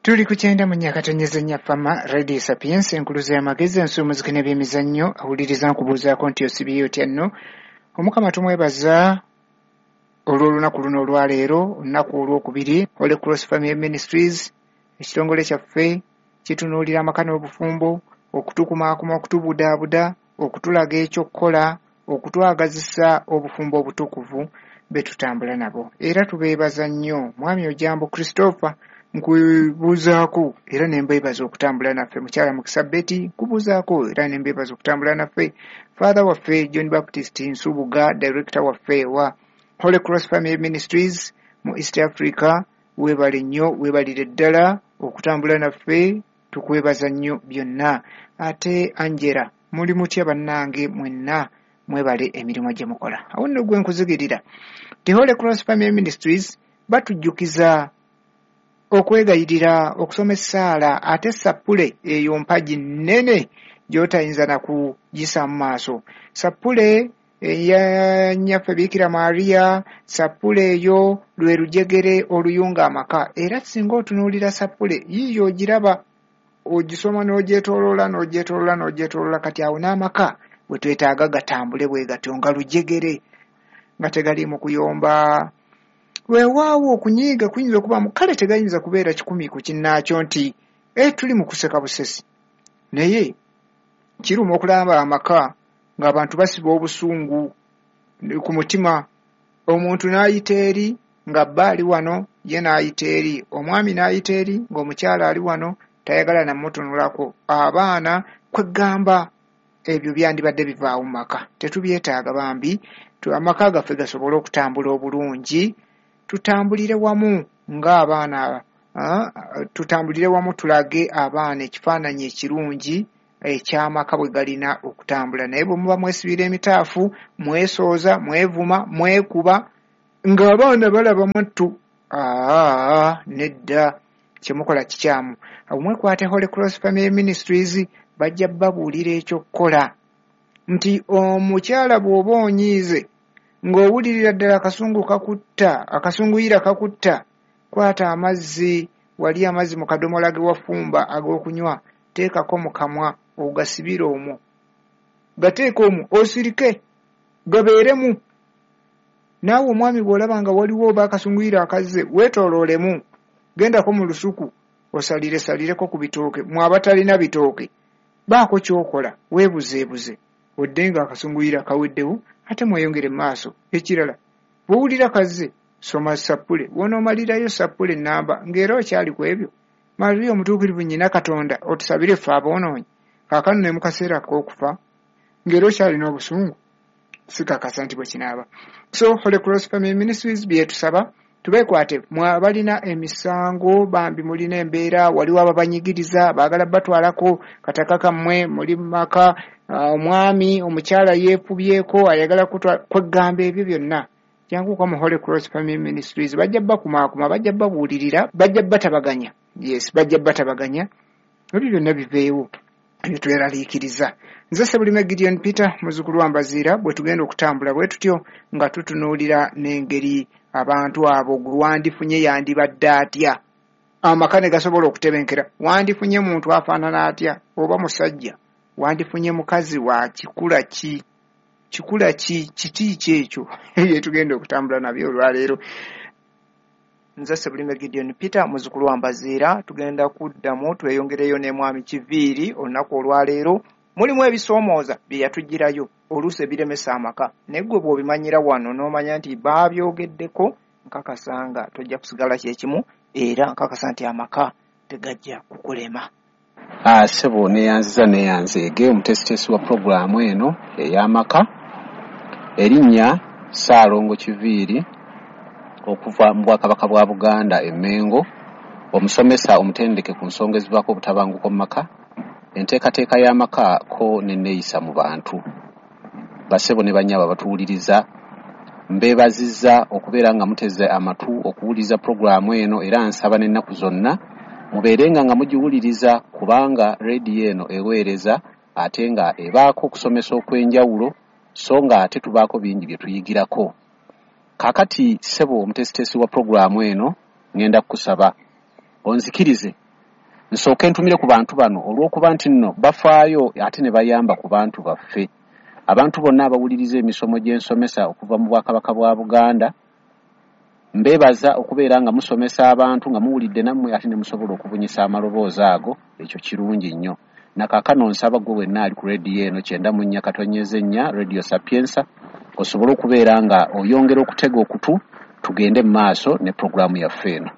Tuli ku 94.4 Fama Radio Sapiens, enkuluze y'amagezi, ensuumuziki n'ebyemizannyo. Awuliriza nkubuuzaako nti osibye otya nno? Omukama tumwebaza olw'olunaku luno olwaleero, olunaku olwokubiri. Holy Cross Family Ministries, ekitongole kyaffe kitunuulira amaka n'obufumbo, okutukumaakuma, okutubudaabuda, okutulaga ekyokukola, okutwagazisa obufumbo obutukuvu be tutambula nabo. Era tubeebaza nnyo. Mwami Ojambo Christopher, nkubuuzaako era ne mbeebaza okutambula naffe. Mukyala Mukisa Betty, nkubuuzaako era ne mbeebaza okutambula naffe. Father waffe John Baptist Nsubuga, director waffe wa Holy Cross Family Ministries mu East Africa, weebale nnyo, weebalire ddala okutambula naffe, tukwebaza nnyo byonna. Ate Angela, muli mutya bannange mwenna? Mwebale emirimu gye mukola. Awo nno gwe nkuzigirira. The Holy Cross Family Ministries batujjukiza okwegayirira, okusoma essaala, ate sappule eyo mpagi nnene gy'otayinza na kugisa mu maaso. Sappule eya Nnyaffe Biikira Maria, sappule eyo lwe lujegere oluyunga amaka. Era singa otunuulira sappule yiiyo ogiraba, ogisoma n'ogyetooloola, n'ogyetooloola, n'ogyetooloola, kati awo n'amaka bwe twetaaga gatambule bwe gatyo nga lujegere, nga tegaliimu kuyomba. Weewaawo okunyiiga kuyinza okubaamu, kale tegayinza kubeera 100 ku kinnaakyo nti tuli mu kuseka busesi. Naye kiruma okulaba amaka ng'abantu basiba obusungu ku mutima, omuntu n'ayita eri nga bba ali wano, ye n'ayita eri, omwami n'ayita eri ng'omukyala ali wano, tayagala namutunulako. Abaana kwegamba ebyo byandibadde bivaawo mu maka, tetubyetaaga bambi. Amaka gaffe gasobole okutambula obulungi, tutambulire wamu ng'abaana, tutambulire wamu, tulage abaana ekifaananyi ekirungi eky'amaka bwe galina okutambula. Naye bwe muba mwesibira emitaafu, mwesooza, mwevuma, mwekuba, ng'abaana balaba mwattu, nedda, kye mukola kikyamu. Awo mwekwate Holy Cross Family Ministries, bajja babuulira ekyokukola nti omukyala bw'oba onyiize ng'owulirira ddala akasungu kakutta, akasunguyira kakutta, kwata amazzi, wali amazzi mu kadomola ge wafumba ag'okunywa, teekako mu kamwa ogasibire omwo, gateeke omwo osirike, gabeeremu. Naawe omwami bw'olaba nga waliwo oba akasunguyira akazze, weetooloolemu, gendako mu lusuku osaliresalireko ku bitooke. Mwe abatalina bitooke, baako ky'okola, weebuzeebuze, odde nga akasunguyira kaweddewo, ate mweyongere mu maaso. Ekirala, bw'owulira kazze, soma sappule. W'onoomalirayo sappule ennamba ng'era okyali ku ebyo, Maria omutuukirivu nnyina Katonda, otusabire ffe aboonoonyi, kaakano ne mu kaseera ak'okufa, ng'era okyalina obusungu, sikakasa nti bwe kinaaba. So Holy Cross Family Ministries byetusaba tubeekwate. Mwe abalina emisango bambi, mulina embeera, waliwo ababanyigiriza, baagala batwalako kataka kammwe, muli mu maka, omwami omukyala yeefubyeko, ayagala kweggamba ebyo byonna, janguka mu Holy Cross Family Ministries, bajja bakumaakuma, bajja babuulirira, bajja batabaganya. Yes, bajja batabaganya, ebyo byonna biveewo ebitweraliikiriza. Nze Sebulime Gideon Peter, muzzukulu wa Mbaziira. Bwe tugenda okutambula bwe tutyo nga tutunuulira n'engeri abantu abo gwe wandifunye yandibadde atya, amaka ne gasobola okutebenkera. Wandifunye muntu afaanana atya? Oba musajja, wandifunye mukazi wa kikula ki? Kikula ki? Kiti ki ekyo bye tugenda okutambula nabyo olwaleero? Nze Sebulime Gideon Peter, muzzukulu wa Mbaziira. Tugenda kuddamu tweyongereyo ne mwami Kiviiri olunaku olwaleero. Mulimu ebisoomooza bye yatugirayo oluusi ebiremesa amaka, naye ggwe bw'obimanyira wano n'omanya nti baabyogeddeko, nkakasa nga tojja kusigala kyekimu, era nkakasa nti amaka tegajja kukulema. Ssebo, neeyanziza, neeyanzeege omuteesiteesi wa pulogulaamu eno ey'amaka. Erinnya Ssaalongo Kiviiri, okuva mu Bwakabaka bwa Buganda e Mmengo, omusomesa omutendeke ku nsonga ezivaako obutabanguko mu maka, enteekateeka y'amaka ko n'enneeyisa mu bantu. Bassebo ne bannyabo abatuwuliriza, mbeebazizza okubeera nga muteze amatu okuwuliriza pulogulaamu eno, era nsaba n'ennaku zonna mubeerenga nga mugiwuliriza, kubanga rediyo eno eweereza ate nga ebaako okusomesa okw'enjawulo, so nga ate tubaako bingi bye tuyigirako. Kaakati ssebo omuteesiteesi wa pulogulaamu eno, ŋŋenda kukusaba onzikirize Nsooke ntumire ku bantu bano olw'okuba nti nno bafaayo ate ne bayamba ku bantu baffe. Abantu bonna abawuliriza emisomo gy'ensomesa okuva mu Bwakabaka bwa Buganda, mbeebaza okubeera nga musomesa abantu nga muwulidde nammwe ate ne musobola okubunyisa amaloboozi ago, ekyo kirungi nnyo. Na kaakano nsaba ggwe wenna ali ku rediyo eno 94.4 Radio Sapienza osobole okubeera nga oyongera okutega okutu tugende mu maaso ne pulogulaamu yaffe eno.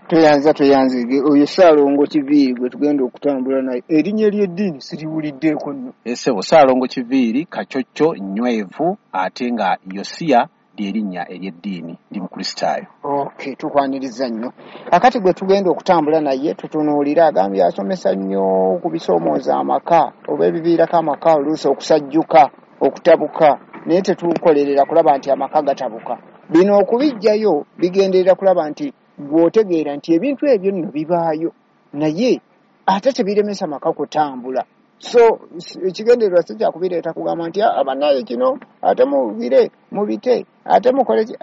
Tweyanza tweyanzige oyo Ssaalongo Kiviiri gwe tugenda okutambula naye. Erinnya ery'eddiini siriwuliddeeko nno. Ssebo Ssaalongo Kiviiri Kacocco Nnywevu ate nga Yosiya ly'erinnya ery'eddiini, ndi Mukristaayo. Okay, tukwaniriza nnyo. Kakati gwe tugenda okutambula naye tutunuulire, agambye asomesa nnyo ku bisoomooza amaka oba ebiviirako amaka oluusi okusajjuka, okutabuka, naye tetukolerera kulaba nti amaka gatabuka. Bino okubiggyayo bigenderera kulaba nti gw'otegeera nti ebintu ebyo nno bibaayo naye ate tebiremesa maka kutambula. So ekigendererwa si kyakubireeta kugamba nti abannaye kino ate mubire mubite ate mukole ki,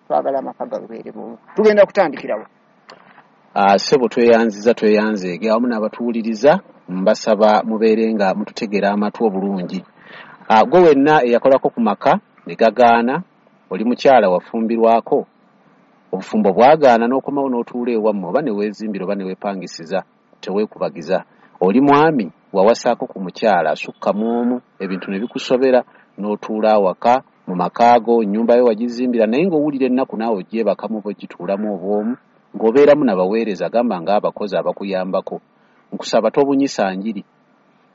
twagala amaka gabeere bumu. Tugenda kutandikirawo. Ssebo tweyanziza tweyanzeege awamu n'abatuwuliriza, mbasaba mubeere nga mututegera amatu obulungi. Gwe wenna eyakolako ku maka ne gagaana, oli mukyala wafumbirwako, obufumbo bwagaana n'okomawo n'otuula ewammwe oba ne weezimbira oba ne weepangisiza, teweekubagiza. Oli mwami wawasaako ku mukyala asukka mu omu, ebintu ne bikusobera n'otuula awaka mu makaago, nnyumba yo wagizimbira naye ng'owulira ennaku naawe ogyebakamu oba ogituulamu obw'omu, ng'obeeramu nabaweereza gamba ng'abakozi abakuyambako. Nkusaba tobunyisa njiri.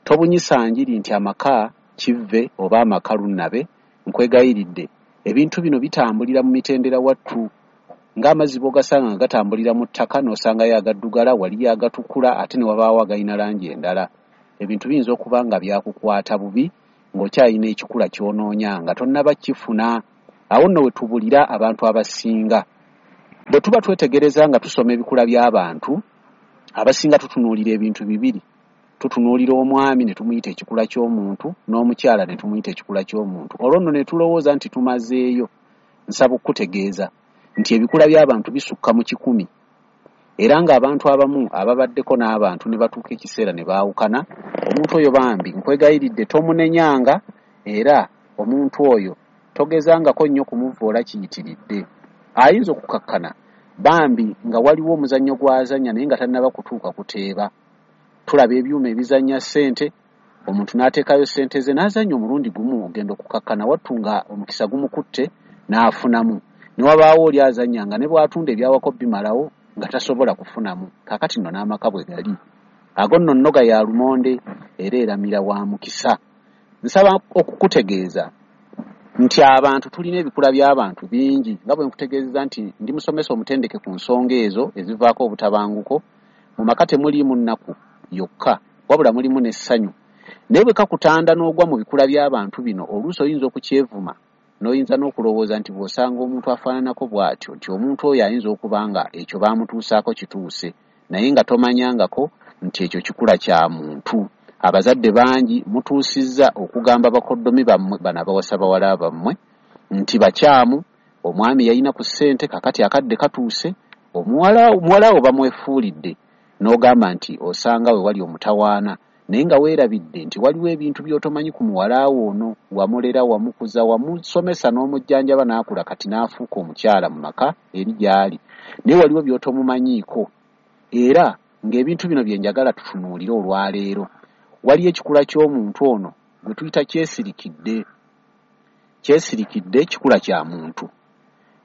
Tobunyisa njiri nti amaka kivve oba amaka lunnabe, nkwegayiridde. Ebintu bino bitambulira mu mitendera wattu. Ng'amazzi bw'ogasanga nga gatambulira mu ttaka n'osangayo agaddugala, waliyo agatukula ate ne wabaawo agalina langi endala. Ebintu biyinza okuba nga byakukwata bubi ng'okyalina ekikula ky'onoonya nga tonnaba kifuna. Awo nno we tubulira abantu abasinga. Bwe tuba twetegereza nga tusoma ebikula by'abantu, abasinga tutunuulira ebintu bibiri. Tutunuulira omwami ne tumuyita ekikula ky'omuntu n'omukyala ne tumuyita ekikula ky'omuntu. Olwo nno ne tulowooza nti tumazeeyo. Nsaba okukutegeeza nti ebikula by'abantu bisukka mu 100. Era ng'abantu abamu ababaddeko n'abantu ne batuuka ekiseera ne baawukana, omuntu oyo bambi nkwegayiridde tomunenyanga, era omuntu oyo togezangako nnyo kumuvvoola kiyitiridde. Ayinza okukakkana bambi nga waliwo omuzannyo gw'azannya naye nga tannaba kutuuka kuteeba. Tulaba ebyuma ebizannya ssente, omuntu n'ateekayo ssente ze n'azannya omulundi gumu, ogenda okukakkana wattu nga omukisa gumukutte n'afunamu. Ne wabaawo oli azannya nga ne bw'atunda ebyawako bimalawo nga tasobola kufunamu. Kaakati nno n'amaka bwe gali. Ago nno nnoga ya lumonde era eramira wa mukisa. Nsaba okukutegeeza nti abantu tulina ebikula by'abantu bingi, nga bwe nkutegeezeza nti ndi musomesa omutendeke ku nsonga ezo ezivaako obutabanguko. Mu maka temuliimu nnaku yokka, wabula mulimu n'essanyu. Naye bwe kakutanda n'ogwa mu bikula by'abantu bino, oluusi oyinza okukyevuma n'oyinza n'okulowooza nti bw'osanga omuntu afaananako bw'atyo nti omuntu oyo ayinza okuba nga ekyo baamutuusaako kituuse, naye nga tomanyangako nti ekyo kikula kya muntu. Abazadde bangi mutuusizza okugamba bakoddomi bammwe bano abawasa bawala bammwe nti bakyamu, omwami yalina ku ssente kakati akadde katuuse, omuwala wo bamwefuulidde, n'ogamba nti osanga we wali omutawaana, naye nga weerabidde nti waliwo ebintu by'otomanyi ku muwala wo ono, wamulera, wamukuza, wamusomesa n'omujjanjaba n'akula kati n'afuuka omukyala mu maka eri gy'ali, naye waliwo by'otomumanyiiko. Era ng'ebintu bino bye njagala tutunuulire olwaleero, waliyo ekikula ky'omuntu ono gwe tuyita kyesirikidde. Kyesirikidde kikula kya muntu.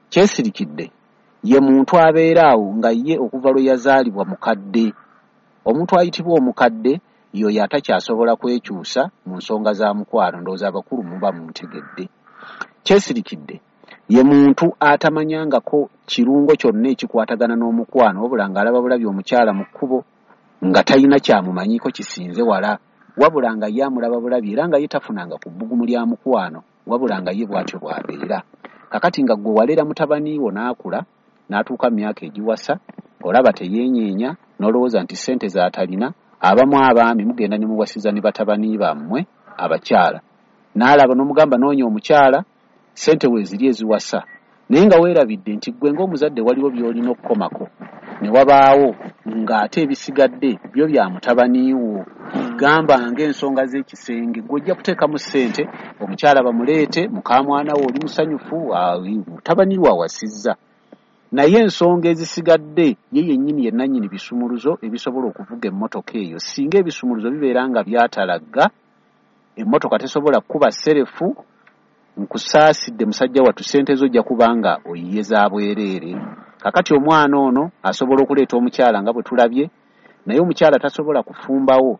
Kyesirikidde ye muntu abeera awo nga ye okuva lwe yazaalibwa mukadde. Omuntu ayitibwa omukadde y'oyo atakyasobola kwekyusa mu nsonga za mukwano, ndowooza abakulu muba muntegedde. Kyesirikidde ye muntu atamanyangako kirungo kyonna ekikwatagana n'omukwano, wabula ng'alaba bulabi omukyala mu kkubo nga talina kyamumanyiiko kisinze wala, wabula nga ye amulaba bulabi era nga ye tafunanga ku bbugumu lya mukwano, wabula nga ye bw'atyo bw'abeera. Kakati nga ggwe walera mutabani wo n'akula n'atuuka mu myaka egiwasa, olaba teyeenyeenya n'olowooza nti ssente z'atalina. Abamu abaami mugenda ne muwasiza ne batabani bammwe abakyala, n'alaba n'omugamba noonya omukyala ssente weeziri eziwasa, naye nga weerabidde nti ggwe ng'omuzadde waliwo by'olina okukomako, ne wabaawo Ng'ate ebisigadde byo bya mutabani wo. Gamba ng'ensonga z'ekisenge, gw'ojja kuteekamu ssente, omukyala bamuleete, mukamwana wo oli musanyufu, mutabani wo awasizza. Naye ensonga ezisigadde ye yennyini ye nannyini bisumuluzo ebisobola okuvuga emmotoka eyo. Singa ebisumuluzo bibeera nga byatalagga, emmotoka tesobola kukuba serefu, nkusaasidde musajja wattu, ssente zo ojja kuba nga oyiye za bwereere. Kakati omwana ono asobola okuleeta omukyala nga bwe tulabye, naye omukyala tasobola kufumbawo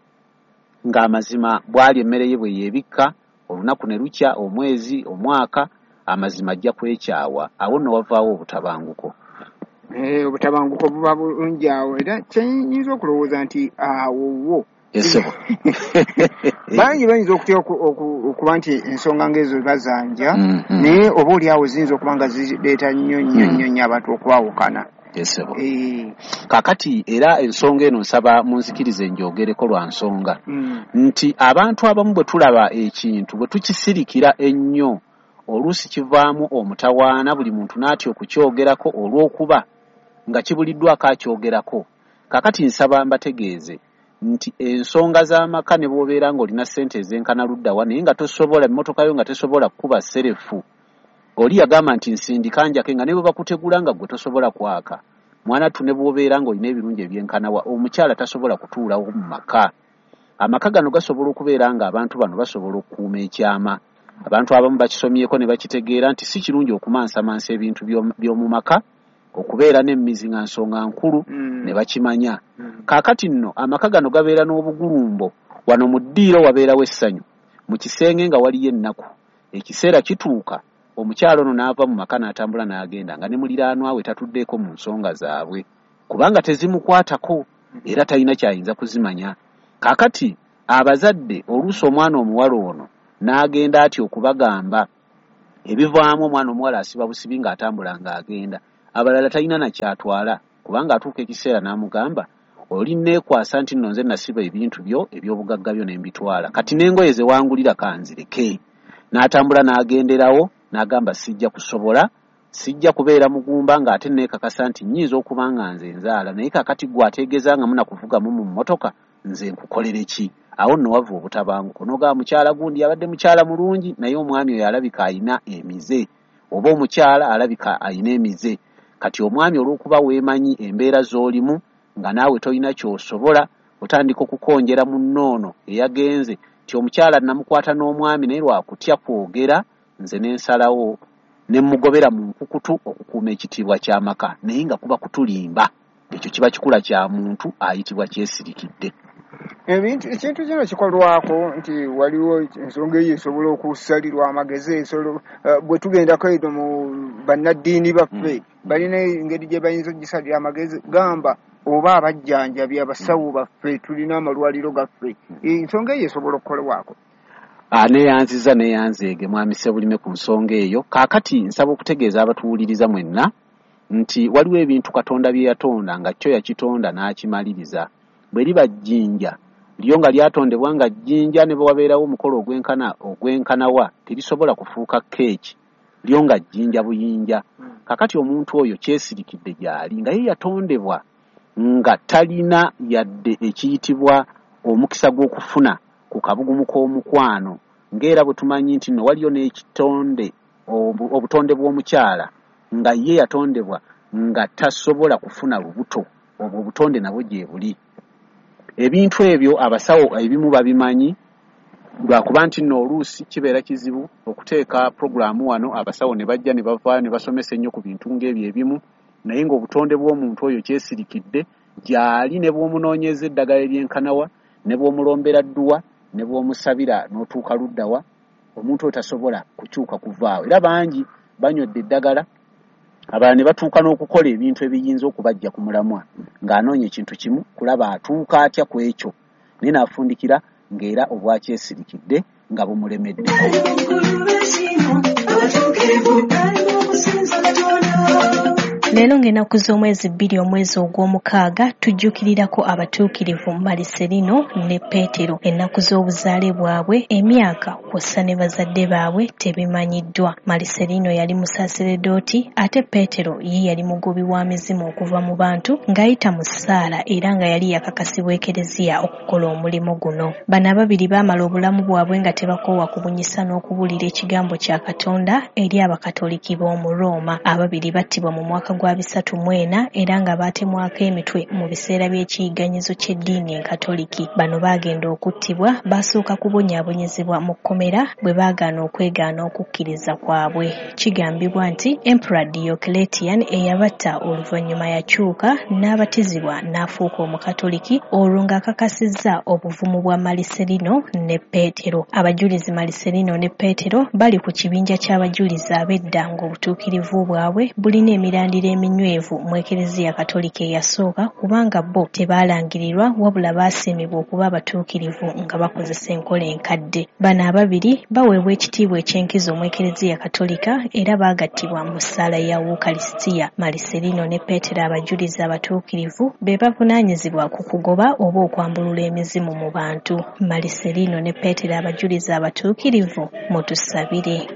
ng'amazima bw'ali emmere ye bwe yeebikka, olunaku ne lukya, omwezi, omwaka, amazima ajja kwekyawa. Awo nno wavaawo obutabanguko. Obutabanguko buba bulungi awo, era kyenyinza okulowooza nti awo wo Esebo. Bangi bayinza okutya okuba nti ensonga ng'ezo bazanja, naye oba oli awo ziyinza okuba nga zireeta nnyo nnyo nnyo nnyo abantu okwawukana. Esebo. Kakati era ensonga eno nsaba munzikirize njogereko lwa nsonga nti abantu abamu bwe tulaba ekintu bwe tukisirikira ennyo, oluusi kivaamu omutawaana, buli muntu n'atya okukyogerako olw'okuba nga kibuliddwako akyogerako. Kakati nsaba mbategeeze nti ensonga z'amaka ne bw'obeera ng'olina ssente ezenkana ludda wa, naye nga tosobola, emmotoka yo nga tesobola kukuba serefu. Oli yagamba nti nsindika njake, nga ne bwe bakutegula nga ggwe tosobola kwaka. Mwana ttu ne bw'obeera ng'olina ebirungi ebyenkana wa, omukyala tasobola kutuulawo mu maka. Amaka gano gasobola okubeera ng'abantu bano basobola okukuuma ekyama. Abantu abamu bakisomyeko ne bakitegeera nti si kirungi okumansamansa ebintu by'omu maka, okubeera n'emmizi nga nsonga nkulu, ne bakimanya. Kaakati nno amaka gano gabeera n'obugulumbo. Wano mu ddiiro wabeerawo essanyu, mu kisenge nga waliyo ennaku. Ekiseera kituuka omukyala ono n'ava mu maka n'atambula n'agenda nga ne muliraanwa we tatuddeeko mu nsonga zaabwe, kubanga tezimukwatako era talina ky'ayinza kuzimanya. Kaakati abazadde oluusi omwana omuwala ono n'agenda atya okubagamba ebivaamu, omwana omuwala asiba busibi ng'atambula ng'agenda, abalala talina na ky'atwala, kubanga atuuka ekiseera n'amugamba oli neekwasa nti nno nze nasiba ebintu byo eby'obugagga byo ne mbitwala, kati n'engoye ze wangulira kanzireke. N'atambula n'agenderawo n'agamba sijja kusobola, sijja kubeera mugumba ng'ate neekakasa nti nnyinza okuba nga nze nzaala, naye kaakati ggwe ategeeza nga munakuvugamu mu mmotoka nze nkukolere ki? Awo nno wava obutabanguko. N'ogamba mukyala gundi abadde mukyala mulungi, naye omwami oyo alabika ayina emize, oba omukyala alabika ayina emize. Kati omwami olw'okuba weemanyi embeera z'olimu nga naawe tolina ky'osobola, otandika okukonjera munnoono eyagenze nti omukyala namukwata n'omwami naye lwakutya kwogera, nze ne nsalawo ne mmugobera mu nkukutu okukuuma ekitiibwa ky'amaka, naye nga kuba kutulimba. Ekyo kiba kikula kya muntu ayitibwa kyesirikidde. Ekintu kino kikolwako nti waliwo ensonga eyo esobola okusalirwa amagezi, bwe tugendako eno mu bannaddiini baffe balina engeri gye bayinza okugisalira amagezi, gamba oba abajjanjabi abasawo baffe, tulina amalwaliro gaffe, ensonga eyo esobola okukolwako. Neeyanziza neeyanzeege mwami Ssebulime ku nsonga eyo. Kaakati nsaba okutegeeza abatuwuliriza mwenna nti waliwo ebintu Katonda bye yatonda nga kyo yakitonda n'akimaliriza. Bwe liba jjinja lyo nga lyatondebwa nga jjinja, ne bwe wabeerawo omukolo ogwenkanawa terisobola kufuuka keeki, lyo nga jjinja buyinja. Kaakati omuntu oyo kyesirikidde gy'ali nga ye yatondebwa nga talina yadde ekiyitibwa omukisa gw'okufuna ku kabugumu k'omukwano, ng'era bwe tumanyi nti nno waliyo n'ekitonde obutonde bw'omukyala nga ye yatondebwa nga tasobola kufuna lubuto, obwo obutonde nabwo gye buli. Ebintu ebyo abasawo ebimu babimanyi, lwakuba nti nno oluusi kibeera kizibu okuteeka puroguraamu wano abasawo ne bajja ne bavaayo ne basomesa ennyo ku bintu ng'ebyo ebimu, naye ng'obutonde bw'omuntu oyo kyesirikidde gy'ali, ne bw'omunoonyeza eddagala eryenkanawa, ne bw'omulombera dduwa, ne bw'omusabira n'otuuka luddawa, omuntu oyo tasobola kukyuka kuvaawo. Era bangi banywedde eddagala, abalala ne batuuka n'okukola ebintu ebiyinza okubajja ku mulamwa, ng'anoonya ekintu kimu kulaba atuuka atya ku ekyo, naye n'afundikira ng'era obwakyesirikidde nga bumulemeddeko. Leero ng'ennaku z'omwezi 2 omwezi ogw'omukaaga tujjukirirako abatuukirivu Maliserino ne Peetero. Ennaku z'obuzaale bwabwe, emyaka kw'ossa ne bazadde baabwe tebimanyiddwa. Maliserino yali musaseredooti ate Peetero ye yali mugobi wa mizimu okuva mu bantu ng'ayita mu ssaala era nga yali yakakasibwa Ekereziya okukola omulimu guno. Bano ababiri baamala obulamu bwabwe nga tebakoowa kubunyisa n'okubuulira ekigambo kya Katonda eri Abakatoliki b'omu Rooma. Ababiri battibwa mu mwaka gwa 34 era nga baatemwako emitwe mu biseera by'ekiyigganyizo ky'eddiini Enkatoliki. Bano baagenda okuttibwa baasooka kubonyaabonyezebwa mu kkomera bwe baagaana okwegaana okukkiriza kwabwe. Kigambibwa nti Emperor Diocletian eyabatta oluvannyuma yakyuka n'abatizibwa n'afuuka Omukatoliki olwo ng'akakasizza obuvumu bwa Maliserino ne Peetero. Abajulizi Maliserino ne Peetero bali ku kibinja ky'abajulizi ab'edda ng'obutuukirivu bwabwe bulina emirandira eminywevu mu Ekereziya Katolika eyasooka kubanga bo tebaalangirirwa wabula baasiimibwa okuba abatuukirivu nga bakozesa enkola enkadde. Bano ababiri baweebwa ekitiibwa eky'enkizo mu Ekereziya Katolika era baagattibwa mu ssaala ya Wukalisitiya. Maliserino ne Peetero abajulizi abatuukirivu be bavunaanyizibwa ku kugoba oba okwambulula emizimu mu bantu. Maliserino ne Peetero abajulizi abatuukirivu mutusabire.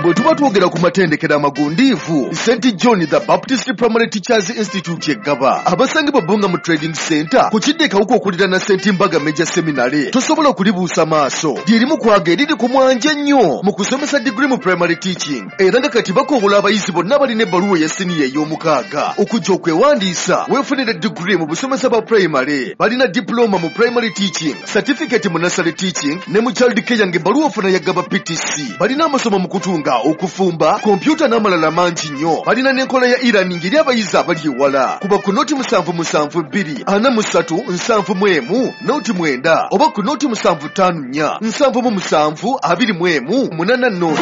Bwe tuba twogera ku matendekero amagundiivu, St John the Baptist Primary Teachers Institute eggaba abasangibwa Bbunga mu Trading Center ku kidde Kawuka okuliraana St Mbaga Major Seminary, tosobola kulibuusa maaso. Lyerimu kwaga eriri ku mwanje ennyo mu kusomesa digiri mu primary teaching, era nga kati bakowola abayizi bonna balina ebbaluwa eya siniya ey'omukaaga okujja okwewandiisa weefunire digiri mu busomesa bwa primary. Balina diploma mu primary teaching, certificate mu nursery teaching ne mu child care ng'ebbaluwa ofuna ya Ggaba PTC. Balina amasomo mu kutunga, okufumba, kompyuta n'amalala mangi nnyo. Balina n'enkola ya e-learning eri abayizi abali ewala. Kuba ku 077 2 43 71 09 oba ku 075 4 77 21 80.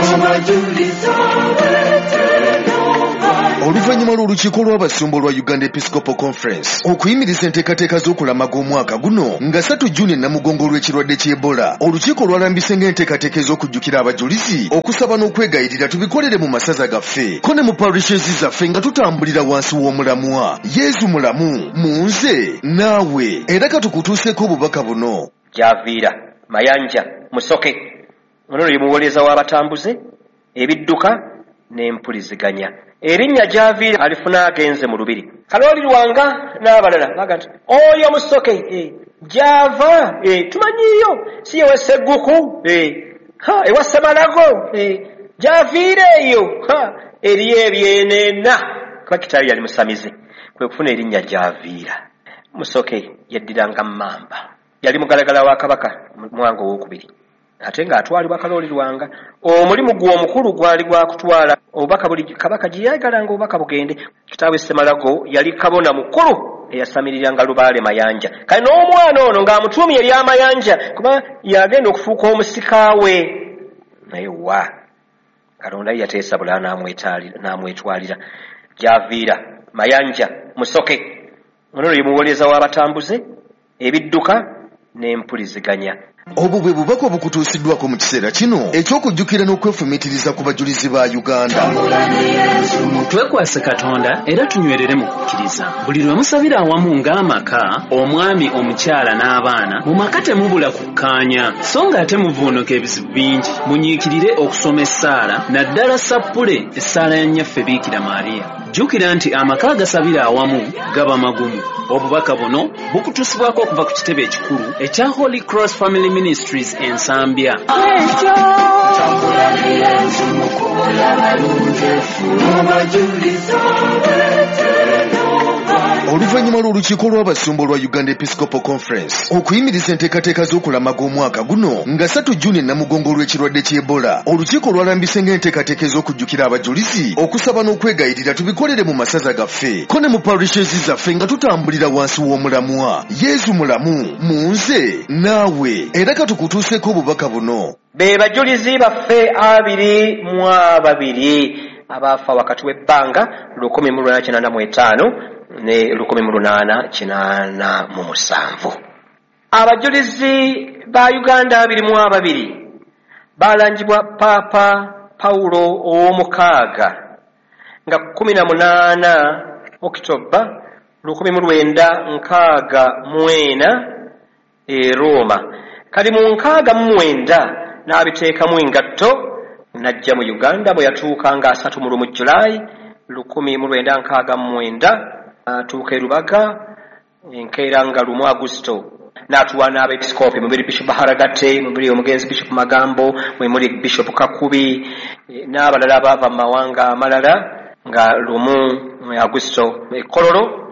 Oluvannyuma lw'olukiiko lw'abasumba olwa Uganda Episcopal Conference okuyimiriza enteekateeka z'okulamaga omwaka guno nga 3 Juni e Namugongo olw'ekirwadde ky'Ebola, olukiiko lwalambise ng'enteekateeka ez'okujjukira abajulizi, okusaba n'okwegayirira tubikolere mu masaza gaffe ko ne mu parishes zaffe nga tutambulira wansi w'omulamwa Yezu mulamu mu nze naawe. Era katukutuuseeko obubaka buno. Gyaviira Mayanja Musoke ono ye muwolereza w'abatambuze ebidduka n'empuliziganya. Erinnya Gyaviira alifuna agenze mu lubiri. Kalooli Lwanga n'abalala baga nti oyo Musoke gyava tumanyiiyo, si yewa Segguku ewa Ssemalago, gyaviira eyo eriyo ebyenena. Kuba kitaawe yali musamize, kwe kufuna erinnya Gyaviira. Musoke yeddiranga Mmamba, yali mugalagala wa Kabaka Mwanga Owokubiri, ate ng'atwalibwa Kalooli Lwanga. Omulimu gwe omukulu gwali gwa kutwala obubaka buli Kabaka gye yayagalanga obubaka bugende. Kitaawe Ssemalago yali kabona mukulu eyasamiriranga Lubaale Mayanja. Kale n'omwana ono ng'amutuumye erya Mayanja kuba yagenda okufuuka omusika we. Naye wa Katonda ye yateesa bulala n'amwetwalira. Gyaviira Mayanja Musoke ono ye muwolereza w'abatambuze ebidduka n'empuliziganya. Obwo bwe bubaka obukutuusiddwako mu kiseera kino eky'okujjukira n'okwefumiitiriza ku bajulizi ba Uganda. Twekwase Katonda era tunywerere mu kukkiriza. Buli lwe musabira awamu ng'amaka, omwami, omukyala n'abaana, mu maka temubula kukkaanya, so ng'ate muvuunuka ebizibu bingi. Munyiikirire okusoma essaala, naddala sappule essaala ya Nnyaffe Biikira Maariya. Jjukira nti amaka agasabira awamu gaba magumu. Obubaka buno bukutuusibwako okuva ku kitebe ekikulu ekya Holy Cross Family Ministries e Nsambya. Tambula ne Yesu mu kkubo ly'abalungefu, abajulizi Oluvannyuma lw'olukiiko lw'abasumba olwa Uganda Episcopal Conference okuyimiriza enteekateeka z'okulamaga omwaka guno nga 3 Juni e Namugongo olw'ekirwadde ky'Ebola, olukiiko lwalambise ng'enteekateeka ez'okujjukira abajulizi, okusaba n'okwegayirira tubikolere mu masaza gaffe ko ne mu parishes zaffe nga tutambulira wansi w'omulamwa Yezu mulamu mu nze naawe. Era katukutuuseeko obubaka buno. Be bajulizi baffe 22 abaafa wakati w'ebbanga 1885 ne 1887. Abajulizi ba Uganda 22 Balangibwa Paapa Pawulo ow'omukaaga nga 18 Okitoba 1964 e Roma. Kali mu 69 n'abiteekamu engatto n'ajja mu Uganda bwe yatuuka nga 31 Julaayi 1969 atuuka e Rubaga enkeera nga 1 Agusto n'atuwa n'abeepisikoopi mubiri Bishop Haragate, mubiri omugenzi Bishop Magambo, mwe muli Bishop Kakubi n'abalala abaava mu mawanga amalala nga 1 Agusto e Kololo,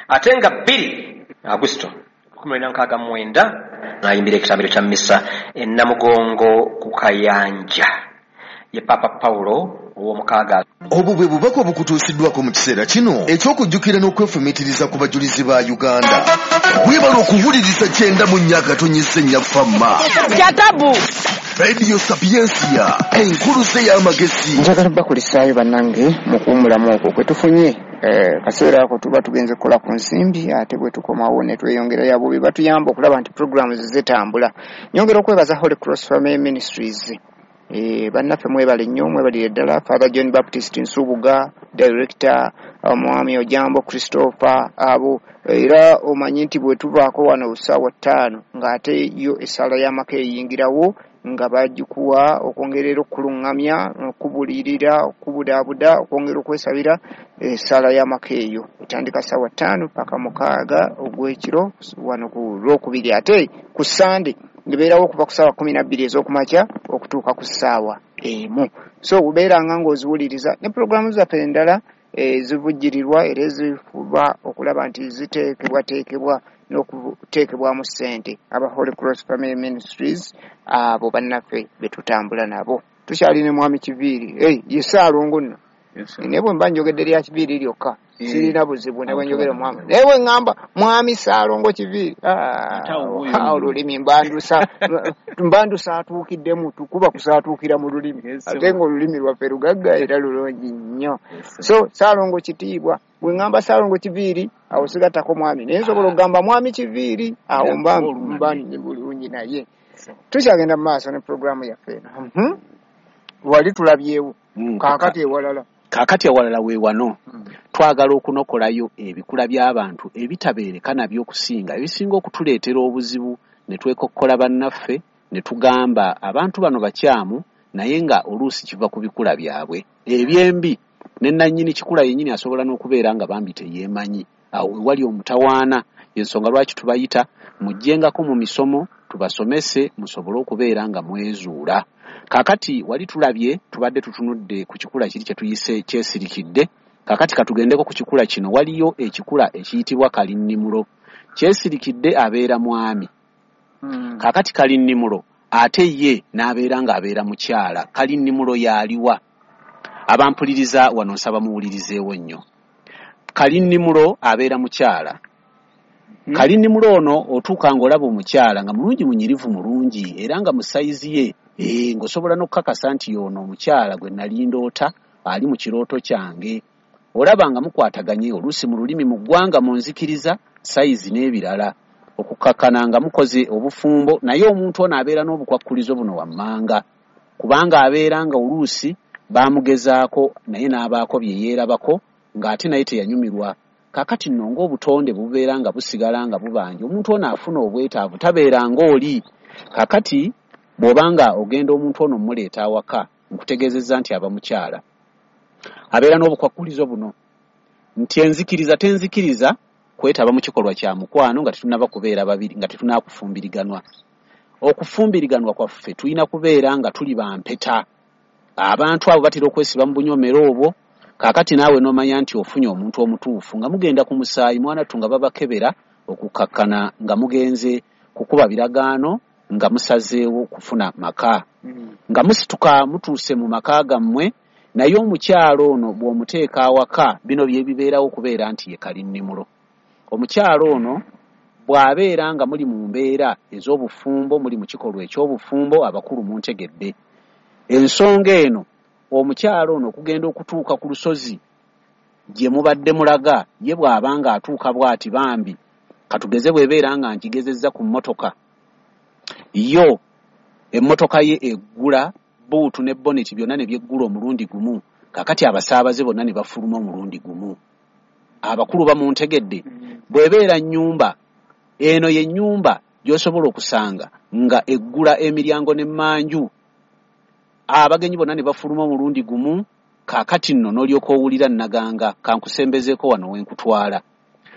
ate nga 2 Agusto 1969 n'ayimbira ekitambiro kya missa e Namugongo ku Kayanja. Ye Papa Pawulo ow'omukaaga. Obwo bwe bubaka obukutuusiddwako mu kiseera kino eky'okujjukira n'okwefumiitiriza ku bajulizi ba Uganda. Weebale okuwuliriza 94.4 Fama Radio Sapiensia, enkuluze y'amagezi. Njagala bakulisaayo bannange mu kuwummulamu okwo kwe tufunye. Kaseera ako tuba tugenze kukola ku nsimbi, ate bwe tukomawo ne tweyongerayo abo be batuyamba okulaba nti programs zitambula. Nyongera okwebaza Holy Cross Family Ministries. Bannaffe mwebale nnyo, mwebalire ddala. Father John Baptist Nsubuga, Director, Omwami Ojambo Christopher, abo era omanyi nti bwe tuvaako wano ssaawa 5 ng'ate yo essaala y'amaka eyingirawo nga bagikuwa okwongerera okuluŋŋamya, okubulirira, okubudaabuda, okwongera okwesabira. Essaala y'amaka eyo etandika ssaawa 5 paka 6 ogw'ekiro wano ku Lwokubiri, ate ku Sande ngebeerawo okuva ku ssaawa 12 ez'okumakya okutuuka ku ssaawa 1. So obeeranga ng'oziwuliriza ne pulogulaamu zaffe endala ezivujjirirwa era ezifuba okulaba nti ziteekebwateekebwa n'okuteekebwamu ssente. Aba Holy Cross Family Ministries abo bannaffe be tutambula nabo. Tukyali ne Mwami Kiviiri. Ye Ssaalongo nno. Naye bwe mba njogedde lya Kiviiri lyokka sirina buzibu ne bwe njogera mwami. Naye bwe ŋŋamba Mwami Ssaalongo Kiviiri, olulimi mbandusa atuukiddemu, tukuba kusaatuukira mu lulimi, ate ng'olulimi lwaffe lugagga era lulungi nnyo. So Ssaalongo kitiibwa. Bwe ŋŋamba Ssaalongo Kiviiri awo sigattako mwami, naye nsobola okugamba Mwami Kiviiri awo mba bulungi. Naye tukyagenda mu maaso ne pulogulaamu yaffe eno. Wali tulabyewo kaakati ewalala. Kaakati ewalala we wano twagala okunokolayo ebikula by'abantu ebitabeereka nabyo okusinga ebisinga okutuleetera obuzibu ne twekokkola bannaffe ne tugamba abantu bano bakyamu, naye nga oluusi kiva ku bikula byabwe ebyembi. Ne nannyini kikula yennyini asobola n'okubeera nga bambi teyeemanyi. Awo wali omutawaana, ensonga lwaki tubayita mujjengako mu misomo tubasomese musobole okubeera nga mwezuula. Kaakati wali tulabye tubadde tutunudde ku kikula kiri kye tuyise kyesirikidde. Kaakati katugendeko ku kikula kino. Waliyo ekikula ekiyitibwa kalinnimulo. Kyesirikidde abeera mwami. Kaakati kalinnimulo ate ye n'abeera ng'abeera mukyala. Kalinnimulo y'aliwa? Abampuliriza wano nsaba muwulirizeewo nnyo. Kalinnimulo abeera mukyala. Kalinnimulo ono otuuka ng'olaba omukyala nga mulungi, munyirivu mulungi, era nga mu sayizi ye ng'osobola n'okukakasa nti ono omukyala gwe nali ndoota ali mu kirooto kyange. Olaba nga mukwataganye oluusi mu lulimi, mu ggwanga, mu nzikiriza, sayizi n'ebirala, okukakkana nga mukoze obufumbo. Naye omuntu ono abeera n'obukwakkulizo buno wammanga, kubanga abeera nga oluusi baamugezaako naye n'abaako bye yeerabako ng'ate naye teyanyumirwa. Kaakati nno ng'obutonde bubeera nga busigala nga bubanja, omuntu ono afuna obwetaavu, tabeera ng'oli. Kaakati bw'obanga ogenda omuntu ono mmuleeta awaka, nkutegeezezza nti aba mukyala. Abeera n'obukwakkulizo buno nti enzikiriza tenzikiriza kwetaba mu kikolwa kya mukwano nga tetunnaba kubeera babiri, nga tetunaakufumbiriganwa. Okufumbiriganwa kwaffe tulina kubeera nga tuli bampeta. Abantu abo batera okwesiba mu bunyomero obwo. Kaakati naawe n'omanya nti ofunye omuntu omutuufu nga mugenda ku musaayi mwanattu nga babakebera okukakkana nga mugenze kukuba biragaano nga musazeewo kufuna maka. Nga musituka mutuuse mu maka gammwe, naye omukyalo ono bw'omuteeka awaka bino bye bibeerawo okubeera nti ye kalinnimulo. Omukyalo ono bw'abeera nga muli mu mbeera ez'obufumbo, muli mu kikolwa eky'obufumbo, abakulu muntegedde. Ensonga eno omukyalo ono okugenda okutuuka ku lusozi gye mubadde mulaga, ye bw'aba ng'atuuka bw'ati bambi, katugeze bw'ebeera nga nkigezezza ku mmotoka, yo emmotoka ye eggula Bbuutu ne boneti byonna ne byeggula omulundi gumu. Kaakati abasaabaze bonna ne bafuluma omulundi gumu. Abakulu bamuntegedde. Bw'ebeera nnyumba, eno ye nnyumba gy'osobola okusanga nga eggula emiryango n'emmanju, abagenyi bonna ne bafuluma omulundi gumu. Kaakati nno n'olyoka owulira nnaganga, kankusembezeeko wano we nkutwala.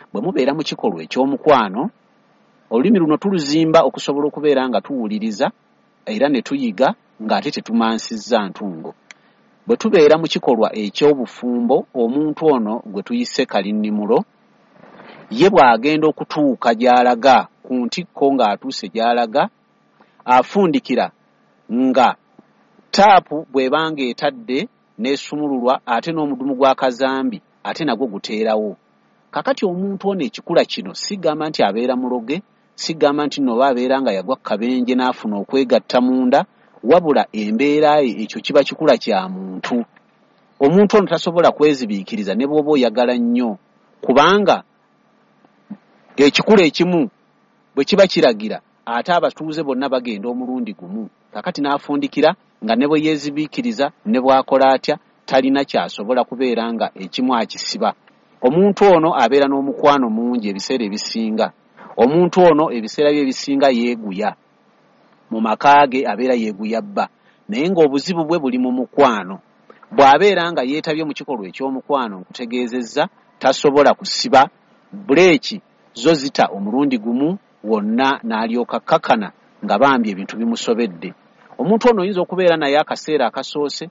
Bwe mubeera mu kikolwa eky'omukwano, olulimi luno tuluzimba okusobola okubeera nga tuwuliriza era ne tuyiga ng'ate tetumansizza ntungo. Bwe tubeera mu kikolwa eky'obufumbo, omuntu ono gwe tuyise kalinnimulo, ye bw'agenda okutuuka gy'alaga ku ntikko ng'atuuse gy'alaga, afundikira nga taapu bw'ebanga etadde n'esumululwa, ate n'omudumu gwa kazambi ate nagwo guteerawo. Kakati omuntu ono ekikula kino sigamba nti abeera muloge, sigamba nti nno oba abeera nga yagwa kabenje n'afuna okwegatta munda, wabula embeera ye ekyo kiba kikula kya muntu. Omuntu ono tasobola kwezibiikiriza ne bw'oba oyagala nnyo, kubanga ekikula ekimu bwe kiba kiragira ate abatuuze bonna bagenda omulundi gumu. Kakati n'afundikira nga ne bwe yeezibiikiriza ne bw'akola atya talina ky'asobola kubeera nga ekimu akisiba. Omuntu ono abeera n'omukwano mungi ebiseera ebisinga. Omuntu ono ebiseera bye ebisinga yeeguya. Mu maka ge abeera yeeguya bba, naye ng'obuzibu bwe buli mu mukwano. Bw'abeera nga yeetabye mu kikolwa eky'omukwano, nkutegeezezza tasobola kusiba buleeki zo zita omulundi gumu wonna n'alyoka kakana nga bambi ebintu bimusobedde. Omuntu ono oyinza okubeera naye akaseera akasoose,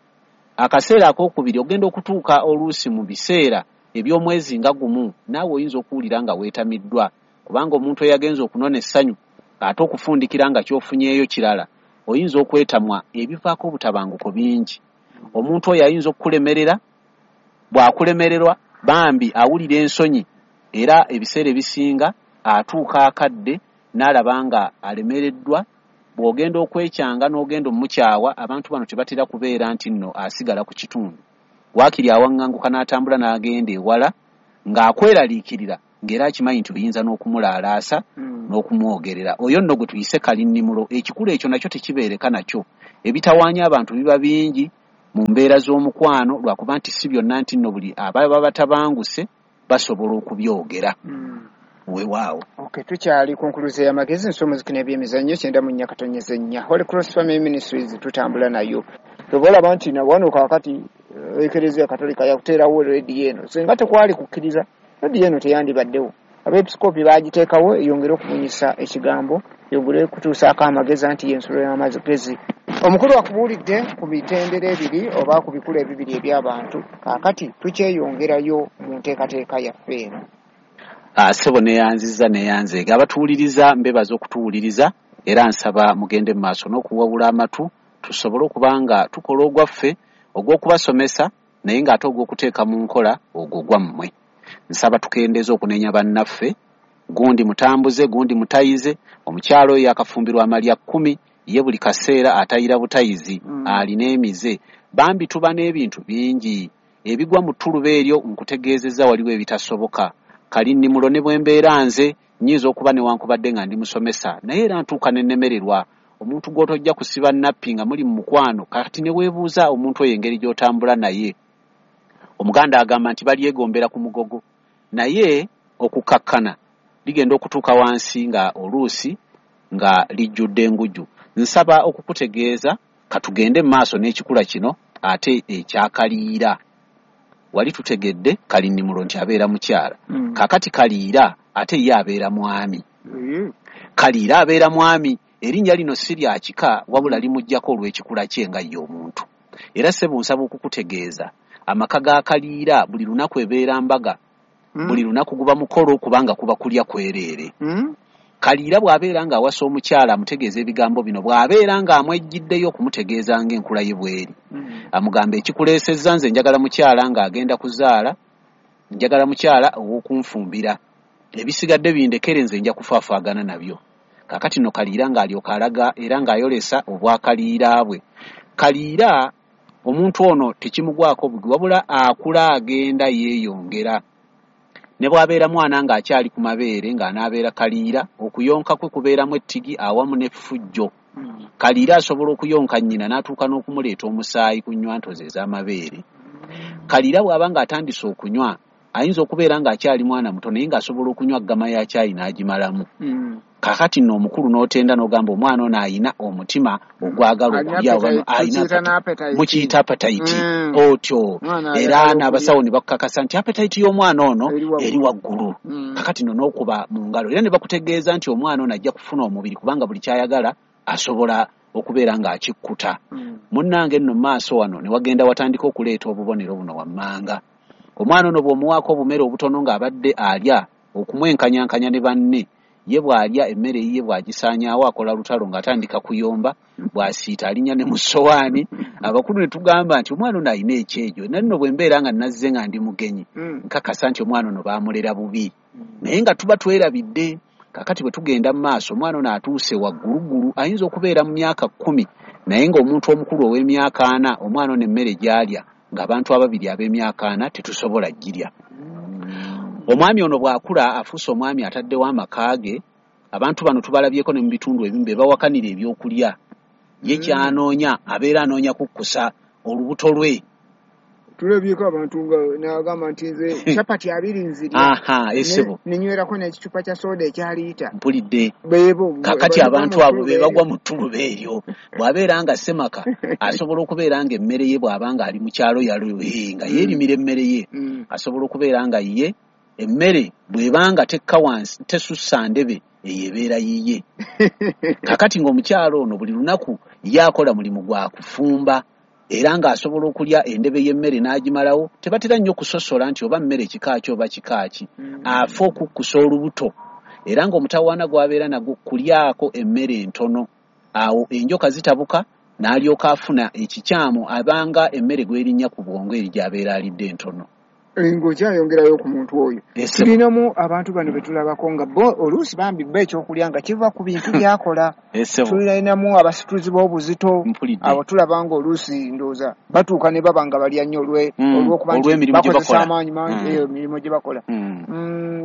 akaseera akookubiri ogenda okutuuka oluusi mu biseera eby'omwezi nga gumu, naawe oyinza okuwulira nga weetamiddwa, kubanga omuntu eyagenza okunona essanyu ate okufundikira nga ky'ofunyeeyo kirala, oyinza okwetamwa ebivaako obutabanguko bingi. Omuntu oyo ayinza okukulemerera, bw'akulemererwa bambi awulira ensonyi, era ebiseera ebisinga atuuka akadde n'alaba nga alemereddwa. Bw'ogenda okwekyanga n'ogenda omukyawa, abantu bano tebatera kubeera nti nno asigala ku kitundu. Waakiri awaŋŋanguka n'atambula n'agenda ewala ng'akweraliikirira, ng'era akimanyi nti oyinza n'okumulaalaasa n'okumwogerera. Oyo nno gwe tuyise kalinnimulo. Ekikula ekyo nakyo tekibeereka nakyo. Ebitawaanya abantu biba bingi mu mbeera z'omukwano, lwakuba nti si byonna nti nno buli ababa batabanguse basobola okubyogera. Weewaawo. Okay, tukyali ku nkuluze y'amagezi, nsomuziki n'ebyemizannyo 94.4 Holy Cross Family Ministries tutambula nayo. Oba olaba nti wano kaakati Ekereziya Katolika yakuteerawo rediyo eno, singa tekwali kukkiriza rediyo eno teyandibaddewo. Abeepisikoopi baagiteekawo eyongere okubunyisa ekigambo, eyongere okutuusaako amagezi anti y'ensulo y'amagezi. Omukulu akubuulidde ku mitendera ebiri oba ku bikula ebibiri eby'abantu. Kaakati tukyeyongerayo mu nteekateeka yaffe eno. Ssebo neeyanzizza neeyanzeege. Abatuwuliriza mbebaza okutuwuliriza, era nsaba mugende mu maaso n'okuwawula amatu tusobole okuba nga tukola ogwaffe ogw'okubasomesa, naye ng'ate ogw'okuteeka mu nkola ogwo gwammwe. Nsaba tukendeeze okunenya bannaffe, gundi mutambuze, gundi mutayize. Omukyalo oyo yakafumbirwa amalya 10, ye buli kaseera atayira butayizi, alina emize. Bambi tuba n'ebintu bingi ebigwa mu ttuluba eryo, nkutegeezezza waliwo ebitasoboka. Kalinnimulo ne bwe mbeera nze nnyinza okuba newankubadde nga ndi musomesa, naye era ntuuka ne nnemererwa. Omuntu gw'otojja kusiba nappi nga muli mu mukwano, kati ne weebuuza omuntu oyo engeri gy'otambula naye. Omuganda agamba nti balyegombera ku mugogo, naye okukakkana ligenda okutuuka wansi nga oluusi nga lijjudde enguju. Nsaba okukutegeeza katugende mu maaso n'ekikula kino ate ekyakaliira. Wali tutegedde kalinnimulo nti abeera mukyala. Kaakati kaliira ate ye abeera mwami. Kaliira abeera mwami. Erinnya lino si lya kika, wabula limuggyako olw'ekikula kye nga ye omuntu. Era ssebo nsaba okukutegeeza amaka ga kaliira buli lunaku ebeera mbaga, buli lunaku guba mukolo, kubanga kuba kulya kwereere. Kaliira bw'abeera ng'awasa omukyala amutegeeza ebigambo bino, bw'abeera ng'amwejjiddeyo okumutegeeza ng'enkula ye bw'eri, amugamba ekikuleesezza nze njagala mukyala ng'agenda kuzaala, njagala mukyala ow'okunfumbira, ebisigadde bindekere nze nja kufaafaagana nabyo. Kaakati nno kaliira ng'alyoka alaga era ng'ayolesa obwakaliira bwe. Kaliira omuntu ono tekimugwako bugwi, wabula akula agenda yeeyongera. Ne bw'abeera mwana ng'akyali ku mabeere ng'anaabeera kaliira, okuyonka kwe kubeeramu ettigi awamu n'effujjo. Kaliira asobola okuyonka nnyina n'atuuka n'okumuleeta omusaayi ku nnywanto ze ez'amabeere. Kaliira bw'aba ng'atandise okunywa, ayinza okubeera ng'akyali mwana muto naye ng'asobola okunywa ggama ya caayi n'agimalamu. Kaakati nno omukulu n'otenda n'ogamba omwana ono ayina omutima ogwagala okulya oba mukiyita appetite otyo, era n'abasawo ne bakukakasa nti appetite y'omwana ono eri waggulu. Kaakati nno n'okuba mu ngalo era ne bakutegeeza nti omwana ono ajja kufuna omubiri kubanga buli ky'ayagala asobola okubeera ng'akikkuta. Munnange nno maaso wano ne wagenda watandika okuleeta obubonero buno wammanga. Omwana ono bw'omuwaako obumere obutono ng'abadde alya okumwenkanyankanya ne banne, ye bw'alya emmere yiye bw'agisaanyaawo akola lutalo ng'atandika kuyomba, bw'asiita alinnya ne mu ssowaani. Abakulu ne tugamba nti omwana ono alina ekyejo, naye nno bwe mbeera nga nazze nga ndi mugenyi nkakasa nti omwana ono baamulera bubi, naye nga tuba twerabidde. Kaakati bwe tugenda mu maaso, omwana ono atuuse wagguluggulu, ayinza okubeera mu myaka 10, naye ng'omuntu omukulu ow'emyaka 40, omwana ono emmere gy'alya ng'abantu ababiri ab'emyaka 40 tetusobola girya. Omwami ono bw'akula afuuse omwami ataddewo amaka ge. Abantu bano tubalabyeko ne mu bitundu ebimu be bawakanira ebyokulya. Ye ky'anoonya abeera anoonya kukkusa olubuto lwe. Tulabyeko abantu nga n'agamba nti nze chapati 2 nzirya. Aha, esebo. Nenywerako n'ekicupa kya soda ekya liita. Mpulidde. Kakati abantu abo be bagwa mu ttuluba eryo. Bw'abeera nga ssemaka asobola okubeera nga emmere ye bw'aba nga ali mu kyalo yalo nga yeerimira emmere ye. Asobola okubeera nga ye emmere bw'ebanga tekka wansi tesussa ndebe eyo ebeera yiye. Kakati ng'omukyalo ono buli lunaku ye akola mulimu gwa kufumba, era ng'asobola okulya endebe y'emmere n'agimalawo. Tebatera nnyo kusosola nti oba mmere kika ki oba kika ki, afa okukkusa olubuto. Era ng'omutawaana gw'abeera nagwo kulyako emmere entono, awo enjoka zitabuka n'alyoka afuna ekikyamu abanga emmere gw'erinnya ku bwongo eri gy'abeera alidde entono. Ng'okyayongerayo ku muntu oyo, tulinamu abantu bano be tulabako nga bo oluusi bambi bo ekyokulya nga kiva ku bintu by'akola. Tulinamu abasituzi b'obuzito, abo tulaba nga oluusi ndowooza batuuka ne baba nga balya nnyo olw'okuba nti bakozesa amaanyi mangi emirimu gye bakola.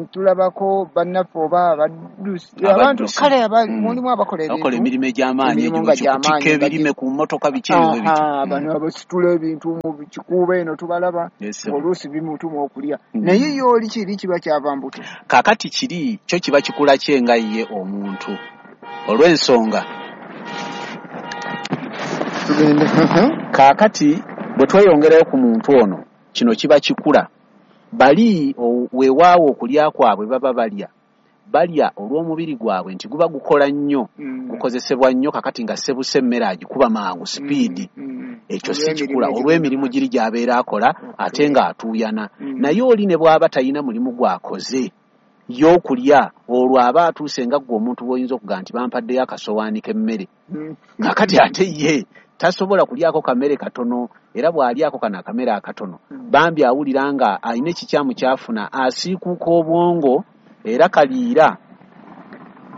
Tulabako bannaffe oba abaddusi, abantu kale mulimu abakola emirimu egy'amaanyi, okutikka ebirime ku mmotoka biki ebyo bityo. Bano abasitula ebintu mu kikuubo eno tubalaba oluusi bimutuma okulya, naye ye oli kiri kiba kyava mbuto. Kaakati kiri kyo kiba kikula kye nga ye omuntu olw'ensonga. Kaakati bwe tweyongerayo ku muntu ono, kino kiba kikula. Bali weewaawo okulya kwabwe baba balya balya olw'omubiri gwabwe nti guba gukola nnyo, gukozesebwa nnyo. Kakati nga sebuse emmere agikuba mangu sipiidi, ekyo si kikula olw'emirimu giri gy'abeera akola ate ng'atuuyana. Naye oli ne bw'aba talina mulimu gw'akoze y'okulya, olwo aba atuuse nga ggwe omuntu bw'oyinza okugamba nti bampaddeyo akasowaani k'emmere. Kakati ate ye tasobola kulyako kamere katono, era bw'alyako kano akamere akatono bambi awulira nga alina ekikyamu ky'afuna, asiikuuka obwongo. Era kaliira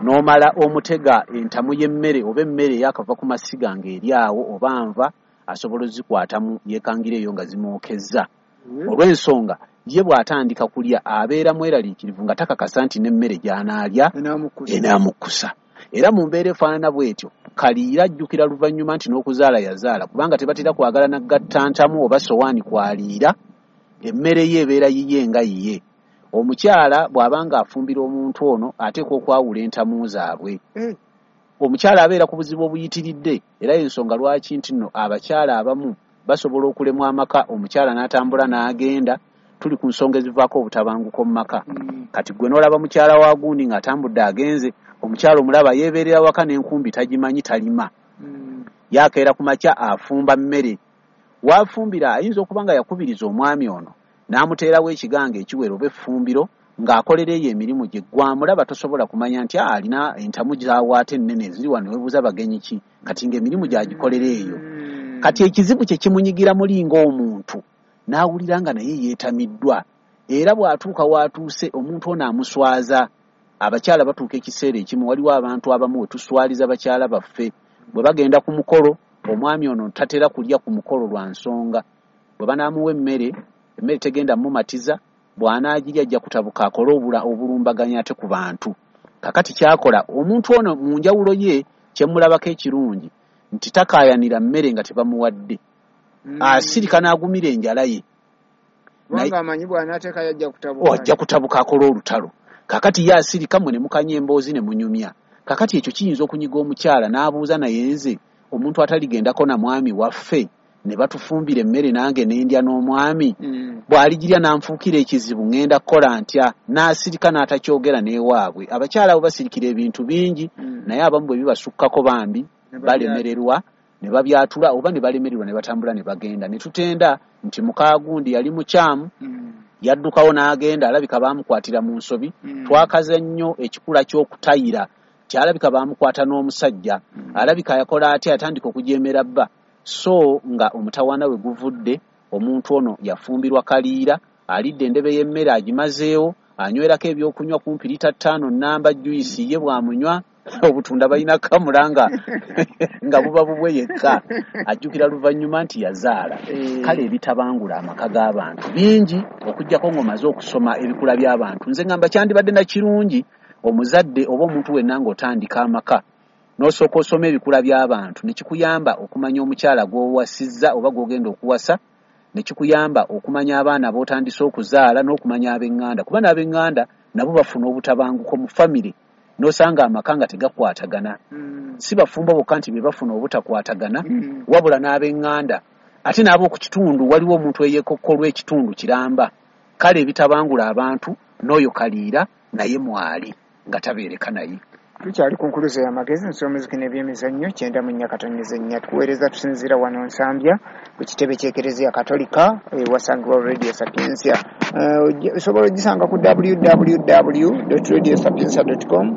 n'omala omutega entamu y'emmere oba emmere eyakava ku masiga ng'eri awo oba nva, asobola ozikwatamu yeekangira eyo nga zimwokezza. Olw'ensonga ye bw'atandika kulya abeera mweraliikirivu nga takakasa nti n'emmere gy'anaalya enaamukkusa. Era mu mbeera efaanana bw'etyo kaliira ajjukira luvannyuma nti n'okuzaala yazaala, kubanga tebatera kwagala nagatta ntamu oba sowaani kwaliira, emmere ye ebeera yiye nga yiye. Omukyala bw'aba ng'afumbira omuntu ono ateekwa okwawula entamu zaabwe. Omukyala abeera ku buzibu obuyitiridde, era y'ensonga lwaki nti nno abakyala abamu basobola okulemwa amaka, omukyala n'atambula n'agenda. Tuli ku nsonga ezivaako obutabanguko mu maka. Kati gwe n'olaba mukyala wa gundi ng'atambudde agenze, omukyala omulaba yeebeerera waka n'enkumbi tagimanyi, talima. Yakeera ku makya afumba mmere. Waafumbira ayinza okuba nga yakubiriza omwami ono n'amuteerawo ekigango ekiwera oba effumbiro ng'akolera eyo emirimu gye. Gwamulaba tosobola kumanya nti alina entamu gy'awaata ennene eziri wano, weebuuza bagenyi ki, kati ng'emirimu gy'agikolera eyo. Kati ekizibu kye kimunyigira muli ng'omuntu n'awulira nga naye yeetamiddwa, era bw'atuuka w'atuuse omuntu ono amuswaza. Abakyala batuuka ekiseera ekimu, waliwo abantu abamu we tuswaliza bakyala baffe bwe bagenda ku mukolo. Omwami ono tatera kulya ku mukolo lwa nsonga, bwe banaamuwa emmere, emmere tegenda mumatiza, bw'anaagirya ajja kutabuka akole obulumbaganyi ate ku bantu. Kakati kyakola omuntu ono mu njawulo ye Kyemulabako ekirungi nti takaayanira mmere nga tebamuwadde, asirika n'agumira enjala ye. Kubanga amanyi bw'anaateekayo ajja kutabuka. Ajja kutabuka akola olutalo. Kakati ye asirika, mmwe ne mukanya emboozi ne munyumya. Kakati ekyo kiyinza okunyiga omukyala n'abuuza, naye nze omuntu ataligendako na mwami waffe ne batufumbira emmere nange ne ndya n'omwami, bw'aligirya n'anfuukira ekizibu ŋŋenda kukola ntya? N'asirika n'atakyogera n'ewaabwe. Abakyala abo basirikira ebintu bingi, naye abamu bwe bibasukkako bambi balemererwa ne babyatula oba ne balemererwa ne batambula ne bagenda. Ne tutenda nti mukaagundi yali mukyamu, yaddukawo n'agenda, alabika baamukwatira mu nsobi. Twakaza nnyo ekikula ky'okutayira, kyalabika baamukwata n'omusajja, alabika yakola atya, yatandika okujeemera bba. So nga omutawaana we guvudde, omuntu ono yafumbirwa kaliira, alidde endebe y'emmere agimazeewo, anywerako ebyokunywa kumpi lita 5 namba juyisi ye bw'amunywa obutunda balina kamula nga buba bubwe yekka, ajjukira luvannyuma nti yazaala. Kale ebitabangula amaka g'abantu bingi, okuggyako ng'omaze okusoma ebikula by'abantu. Nze ngamba kyandibadde na kirungi omuzadde oba omuntu wenna ng'otandika amaka n'osooka osoma ebikula by'abantu, ne kikuyamba okumanya omukyala gw'owasizza oba gw'ogenda okuwasa, ne kikuyamba okumanya abaana b'otandise okuzaala n'okumanya ab'eŋŋanda, kuba n'ab'eŋŋanda nabo bafuna obutabanguko mu famire, n'osanga amaka nga tegakwatagana. Si bafumbo bokka nti be bafuna obutakwatagana, wabula n'ab'eŋŋanda ate n'ab'oku kitundu. Waliwo omuntu eyeekokkolwa ekitundu kiramba. Kale ebitabangula abantu n'oyo kaliira naye mwali nga tabeereka naye. Tukyali ku nkuluze y'amagezi, nsomuziki n'ebyemizannyo 94.4. Tukuweereza tusinziira wano Nsambya ku kitebe ky'Ekereziya Katolika ewasangibwa Radio Sapientia. Osobola ogisanga ku www.radiosapientia.com,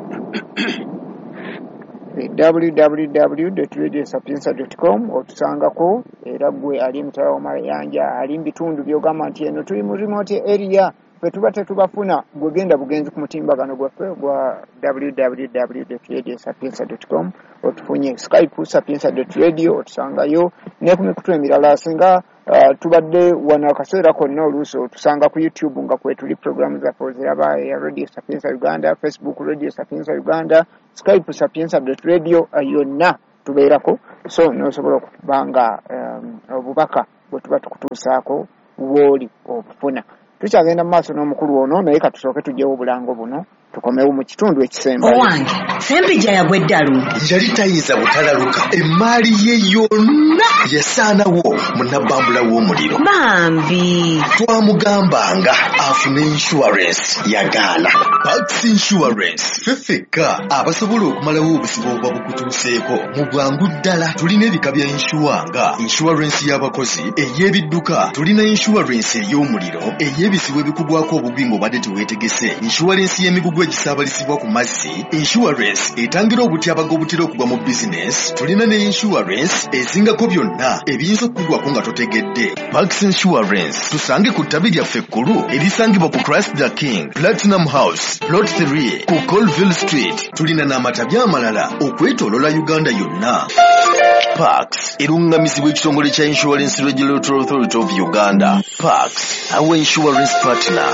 www.radiosapientia.com otusangako. Era gwe ali emitala w'amayanja, ali mu bitundu by'ogamba nti eno tuli mu remote area, ffe tuba tetubafuna, gwe genda bugenzi ku mutimbagano gwaffe gwa www.radiosapientia.com otufunye. Skype sapientia.radio otusangayo, ne ku mikutu emirala. Singa tubadde wano akaseera konna, oluusi otusanga ku YouTube nga kwetuli programu zaffe oziraba, eya Radio Sapientia Uganda, Facebook Radio Sapientia Uganda, Skype sapientia.radio, yonna tubeerako. So n'osobola okuba nga obubaka bwe tuba tukutuusaako wooli obufuna. Tukyagenda mu maaso n'omukulu ono, naye katusooke tugyewo obulango buno tukomewo mu kitundu ekisembayo. Owange, Ssempijja yagwa eddalu. Yali tayinza butalaluka, emaali ye yonna yasaanawo mu nabbambula w'omuliro. Bambi. Twamugambanga afune insurance, yagaana. Pax Insurance, ffe ffekka abasobola okumalawo obuzibu obuba bukutuuseeko mu bwangu ddala. Tulina ebika bya insure nga insurance y'abakozi, ey'ebidduka, tulina insurance ey'omuliro, ey'ebizibu ebikugwako obugwi ng'obadde teweetegese, insurance y'emigugu egisaabalizibwa ku mazzi, insurance etangira obutyabaga obutera okugwa mu bizinesi. Tulina ne insurance ezingako byonna ebiyinza okukugwako nga totegedde. Pax Insurance, tusange ku ttabi lyaffe ekkulu erisangibwa ku Christ the King Platinum House, Plot 3 ku Colville Street. Tulina n'amatabi amalala okwetoolola Uganda yonna. Pax erungamizibwa ekitongole kya Insurance Regulatory Authority of Uganda. Pax, our insurance partner.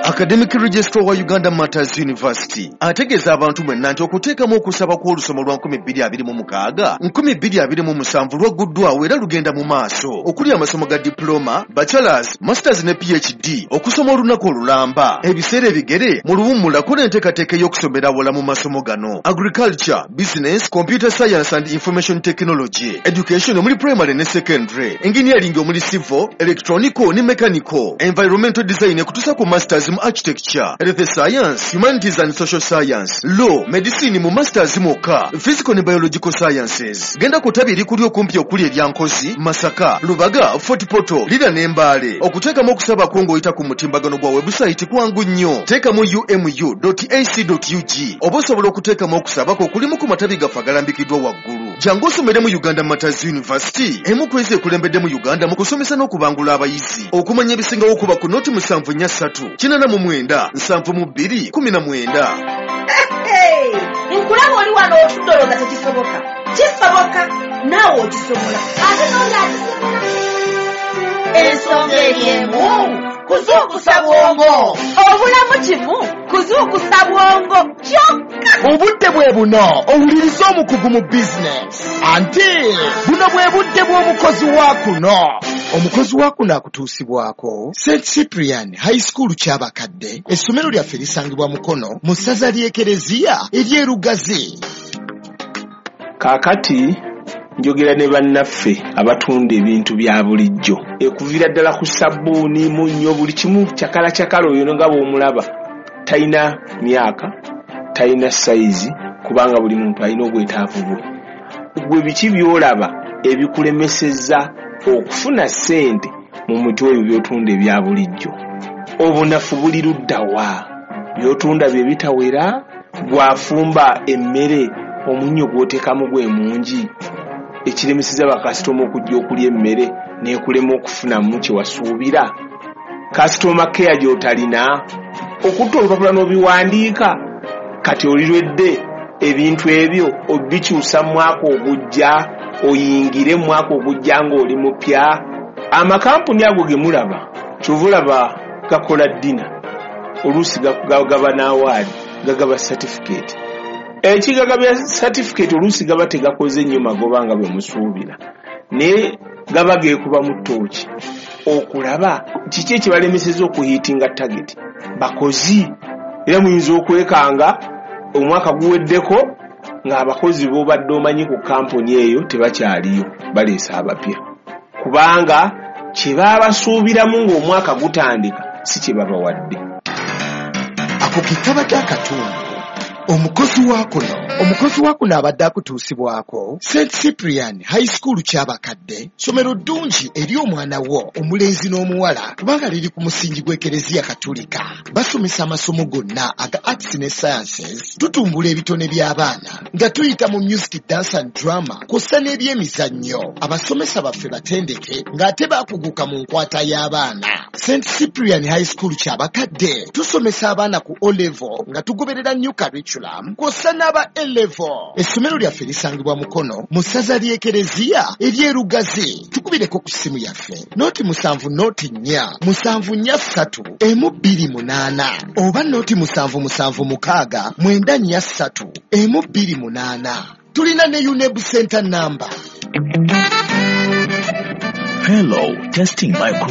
Academic Registrar wa Uganda Martyrs University ategeeza abantu mwenna nti okuteekamu okusaba kw'olusoma lwa 2026 2027 lwagguddwawo era lugenda mu maaso, okuli amasomo ga diploma, bachelors, masters ne PhD, okusoma olunaku olulamba, ebiseera ebigere mu luwummula. Kola enteekateeka ey'okusomera awala mu masomo gano: agriculture, business, computer science and information technology, education omuli primary ne secondary, engineering omuli civil, electronical ne mechanical, environmental design ekutuusa ku masters mu architecture, health science, humanities and social science, law, medicine mu masters mwokka, physical ne biological sciences. Genda ku ttabi erikuli okumpi okuli erya Nkozi, Masaka, Lubaga, Fort Portal, Lira ne Mbale. Okuteekamu okusabako ng'oyita ku mutimbagano gwa webusayiti kwangu nnyo. Teekamu umu.ac.ug oba osobola okuteekamu okusabako okulimu ku matabi gaffe agalambikiddwa waggulu. Jangu osomere mu Uganda Martyrs University, emu ku ezo ekulembedde mu Uganda mu kusomesa n'okubangula abayizi. Okumanya ebisingawo kuba ku noti 743 89 72 19. Nkulaba oli wano otudde olowooza tekisoboka. Kisoboka, naawe okisobola, ate n'oli akisobola. Ensonga eri emu, kuzuukusa bwongo. Obulamu kimu. Kuzuukusa bwongo kyokka. Obudde bwe buno owulirize omukugu mu bizinesi, anti buno bwe budde bw'omukozi wa kuno. Omukozi wa kuno akutuusibwako St Cyprian High School Kyabakadde. Essomero lyaffe lisangibwa Mukono mu ssaza ly'Ekereziya ery'Erugazi. Kaakati njogera ne bannaffe abatunda ebintu bya bulijjo, ekuviira ddala ku sabbuuni, munnyo, buli kimu cakala cakala. Oyo nga bw'omulaba talina myaka, talina sayizi, kubanga buli muntu alina obwetaavu bwe. Gwe biki by'olaba ebikulemesezza okufuna ssente mu muti oyo by'otunda ebya bulijjo? Obunafu buli ludda wa? By'otunda bye bitawera? Gw'afumba emmere omunnyo gw'oteekamu gwe mungi, ekiremeseza bakasitoma okujja okulya emmere n'ekulema okufunamu kye wasuubira? Kasitoma keya gy'otalina okutta olupapula n'obiwandiika, kati olirwedde ebintu ebyo obikyusa mu mwaka ogujja, oyingire mu mwaka ogujja ng'oli mupya. Amakampuni ago ge mulaba, kyova olaba gakola ddina, oluusi gaba n'awaadi, gagaba satifikeeti. Ekigagabya satifikeeti oluusi gaba tegakoze nnyo magoba nga bwe musuubira, naye gaba geekubamu ttooki okulaba kiki ekibalemeseza okuhiitinga tageti bakozi. Era muyinza okwekanga omwaka guweddeko ng'abakozi b'obadde omanyi ku kampuni eyo tebakyaliyo, baleese abapya, kubanga kye baabasuubiramu ng'omwaka gutandika si kye babawadde. Ako ke kabadde akatundu omukozi wa kuno. Omukozi wa kuno abadde akutuusibwako St Cyprian High School Kyabakadde. Ssomero ddungi eri omwana wo omulenzi n'omuwala, kubanga liri ku musingi gw'Ekereziya Katulika. Basomesa amasomo gonna aga arts ne sciences. Tutumbula ebitone by'abaana nga tuyita mu music, dance and drama, kw'ossa n'ebyemizannyo. Abasomesa baffe batendeke ng'ate baakuguka mu nkwata y'abaana. St Cyprian High School Kyabakadde tusomesa abaana ku O level nga tugoberera new curriculum, kw'ossa n'aba A level. Essomero lyaffe lisangibwa Mukono mu ssaza ly'Ekereziya ery'Erugazi. Tukubireko ku ssimu yaffe 070 04 743 128 oba 077 694 128. Tulina ne UNEB center number. Hello, testing micro.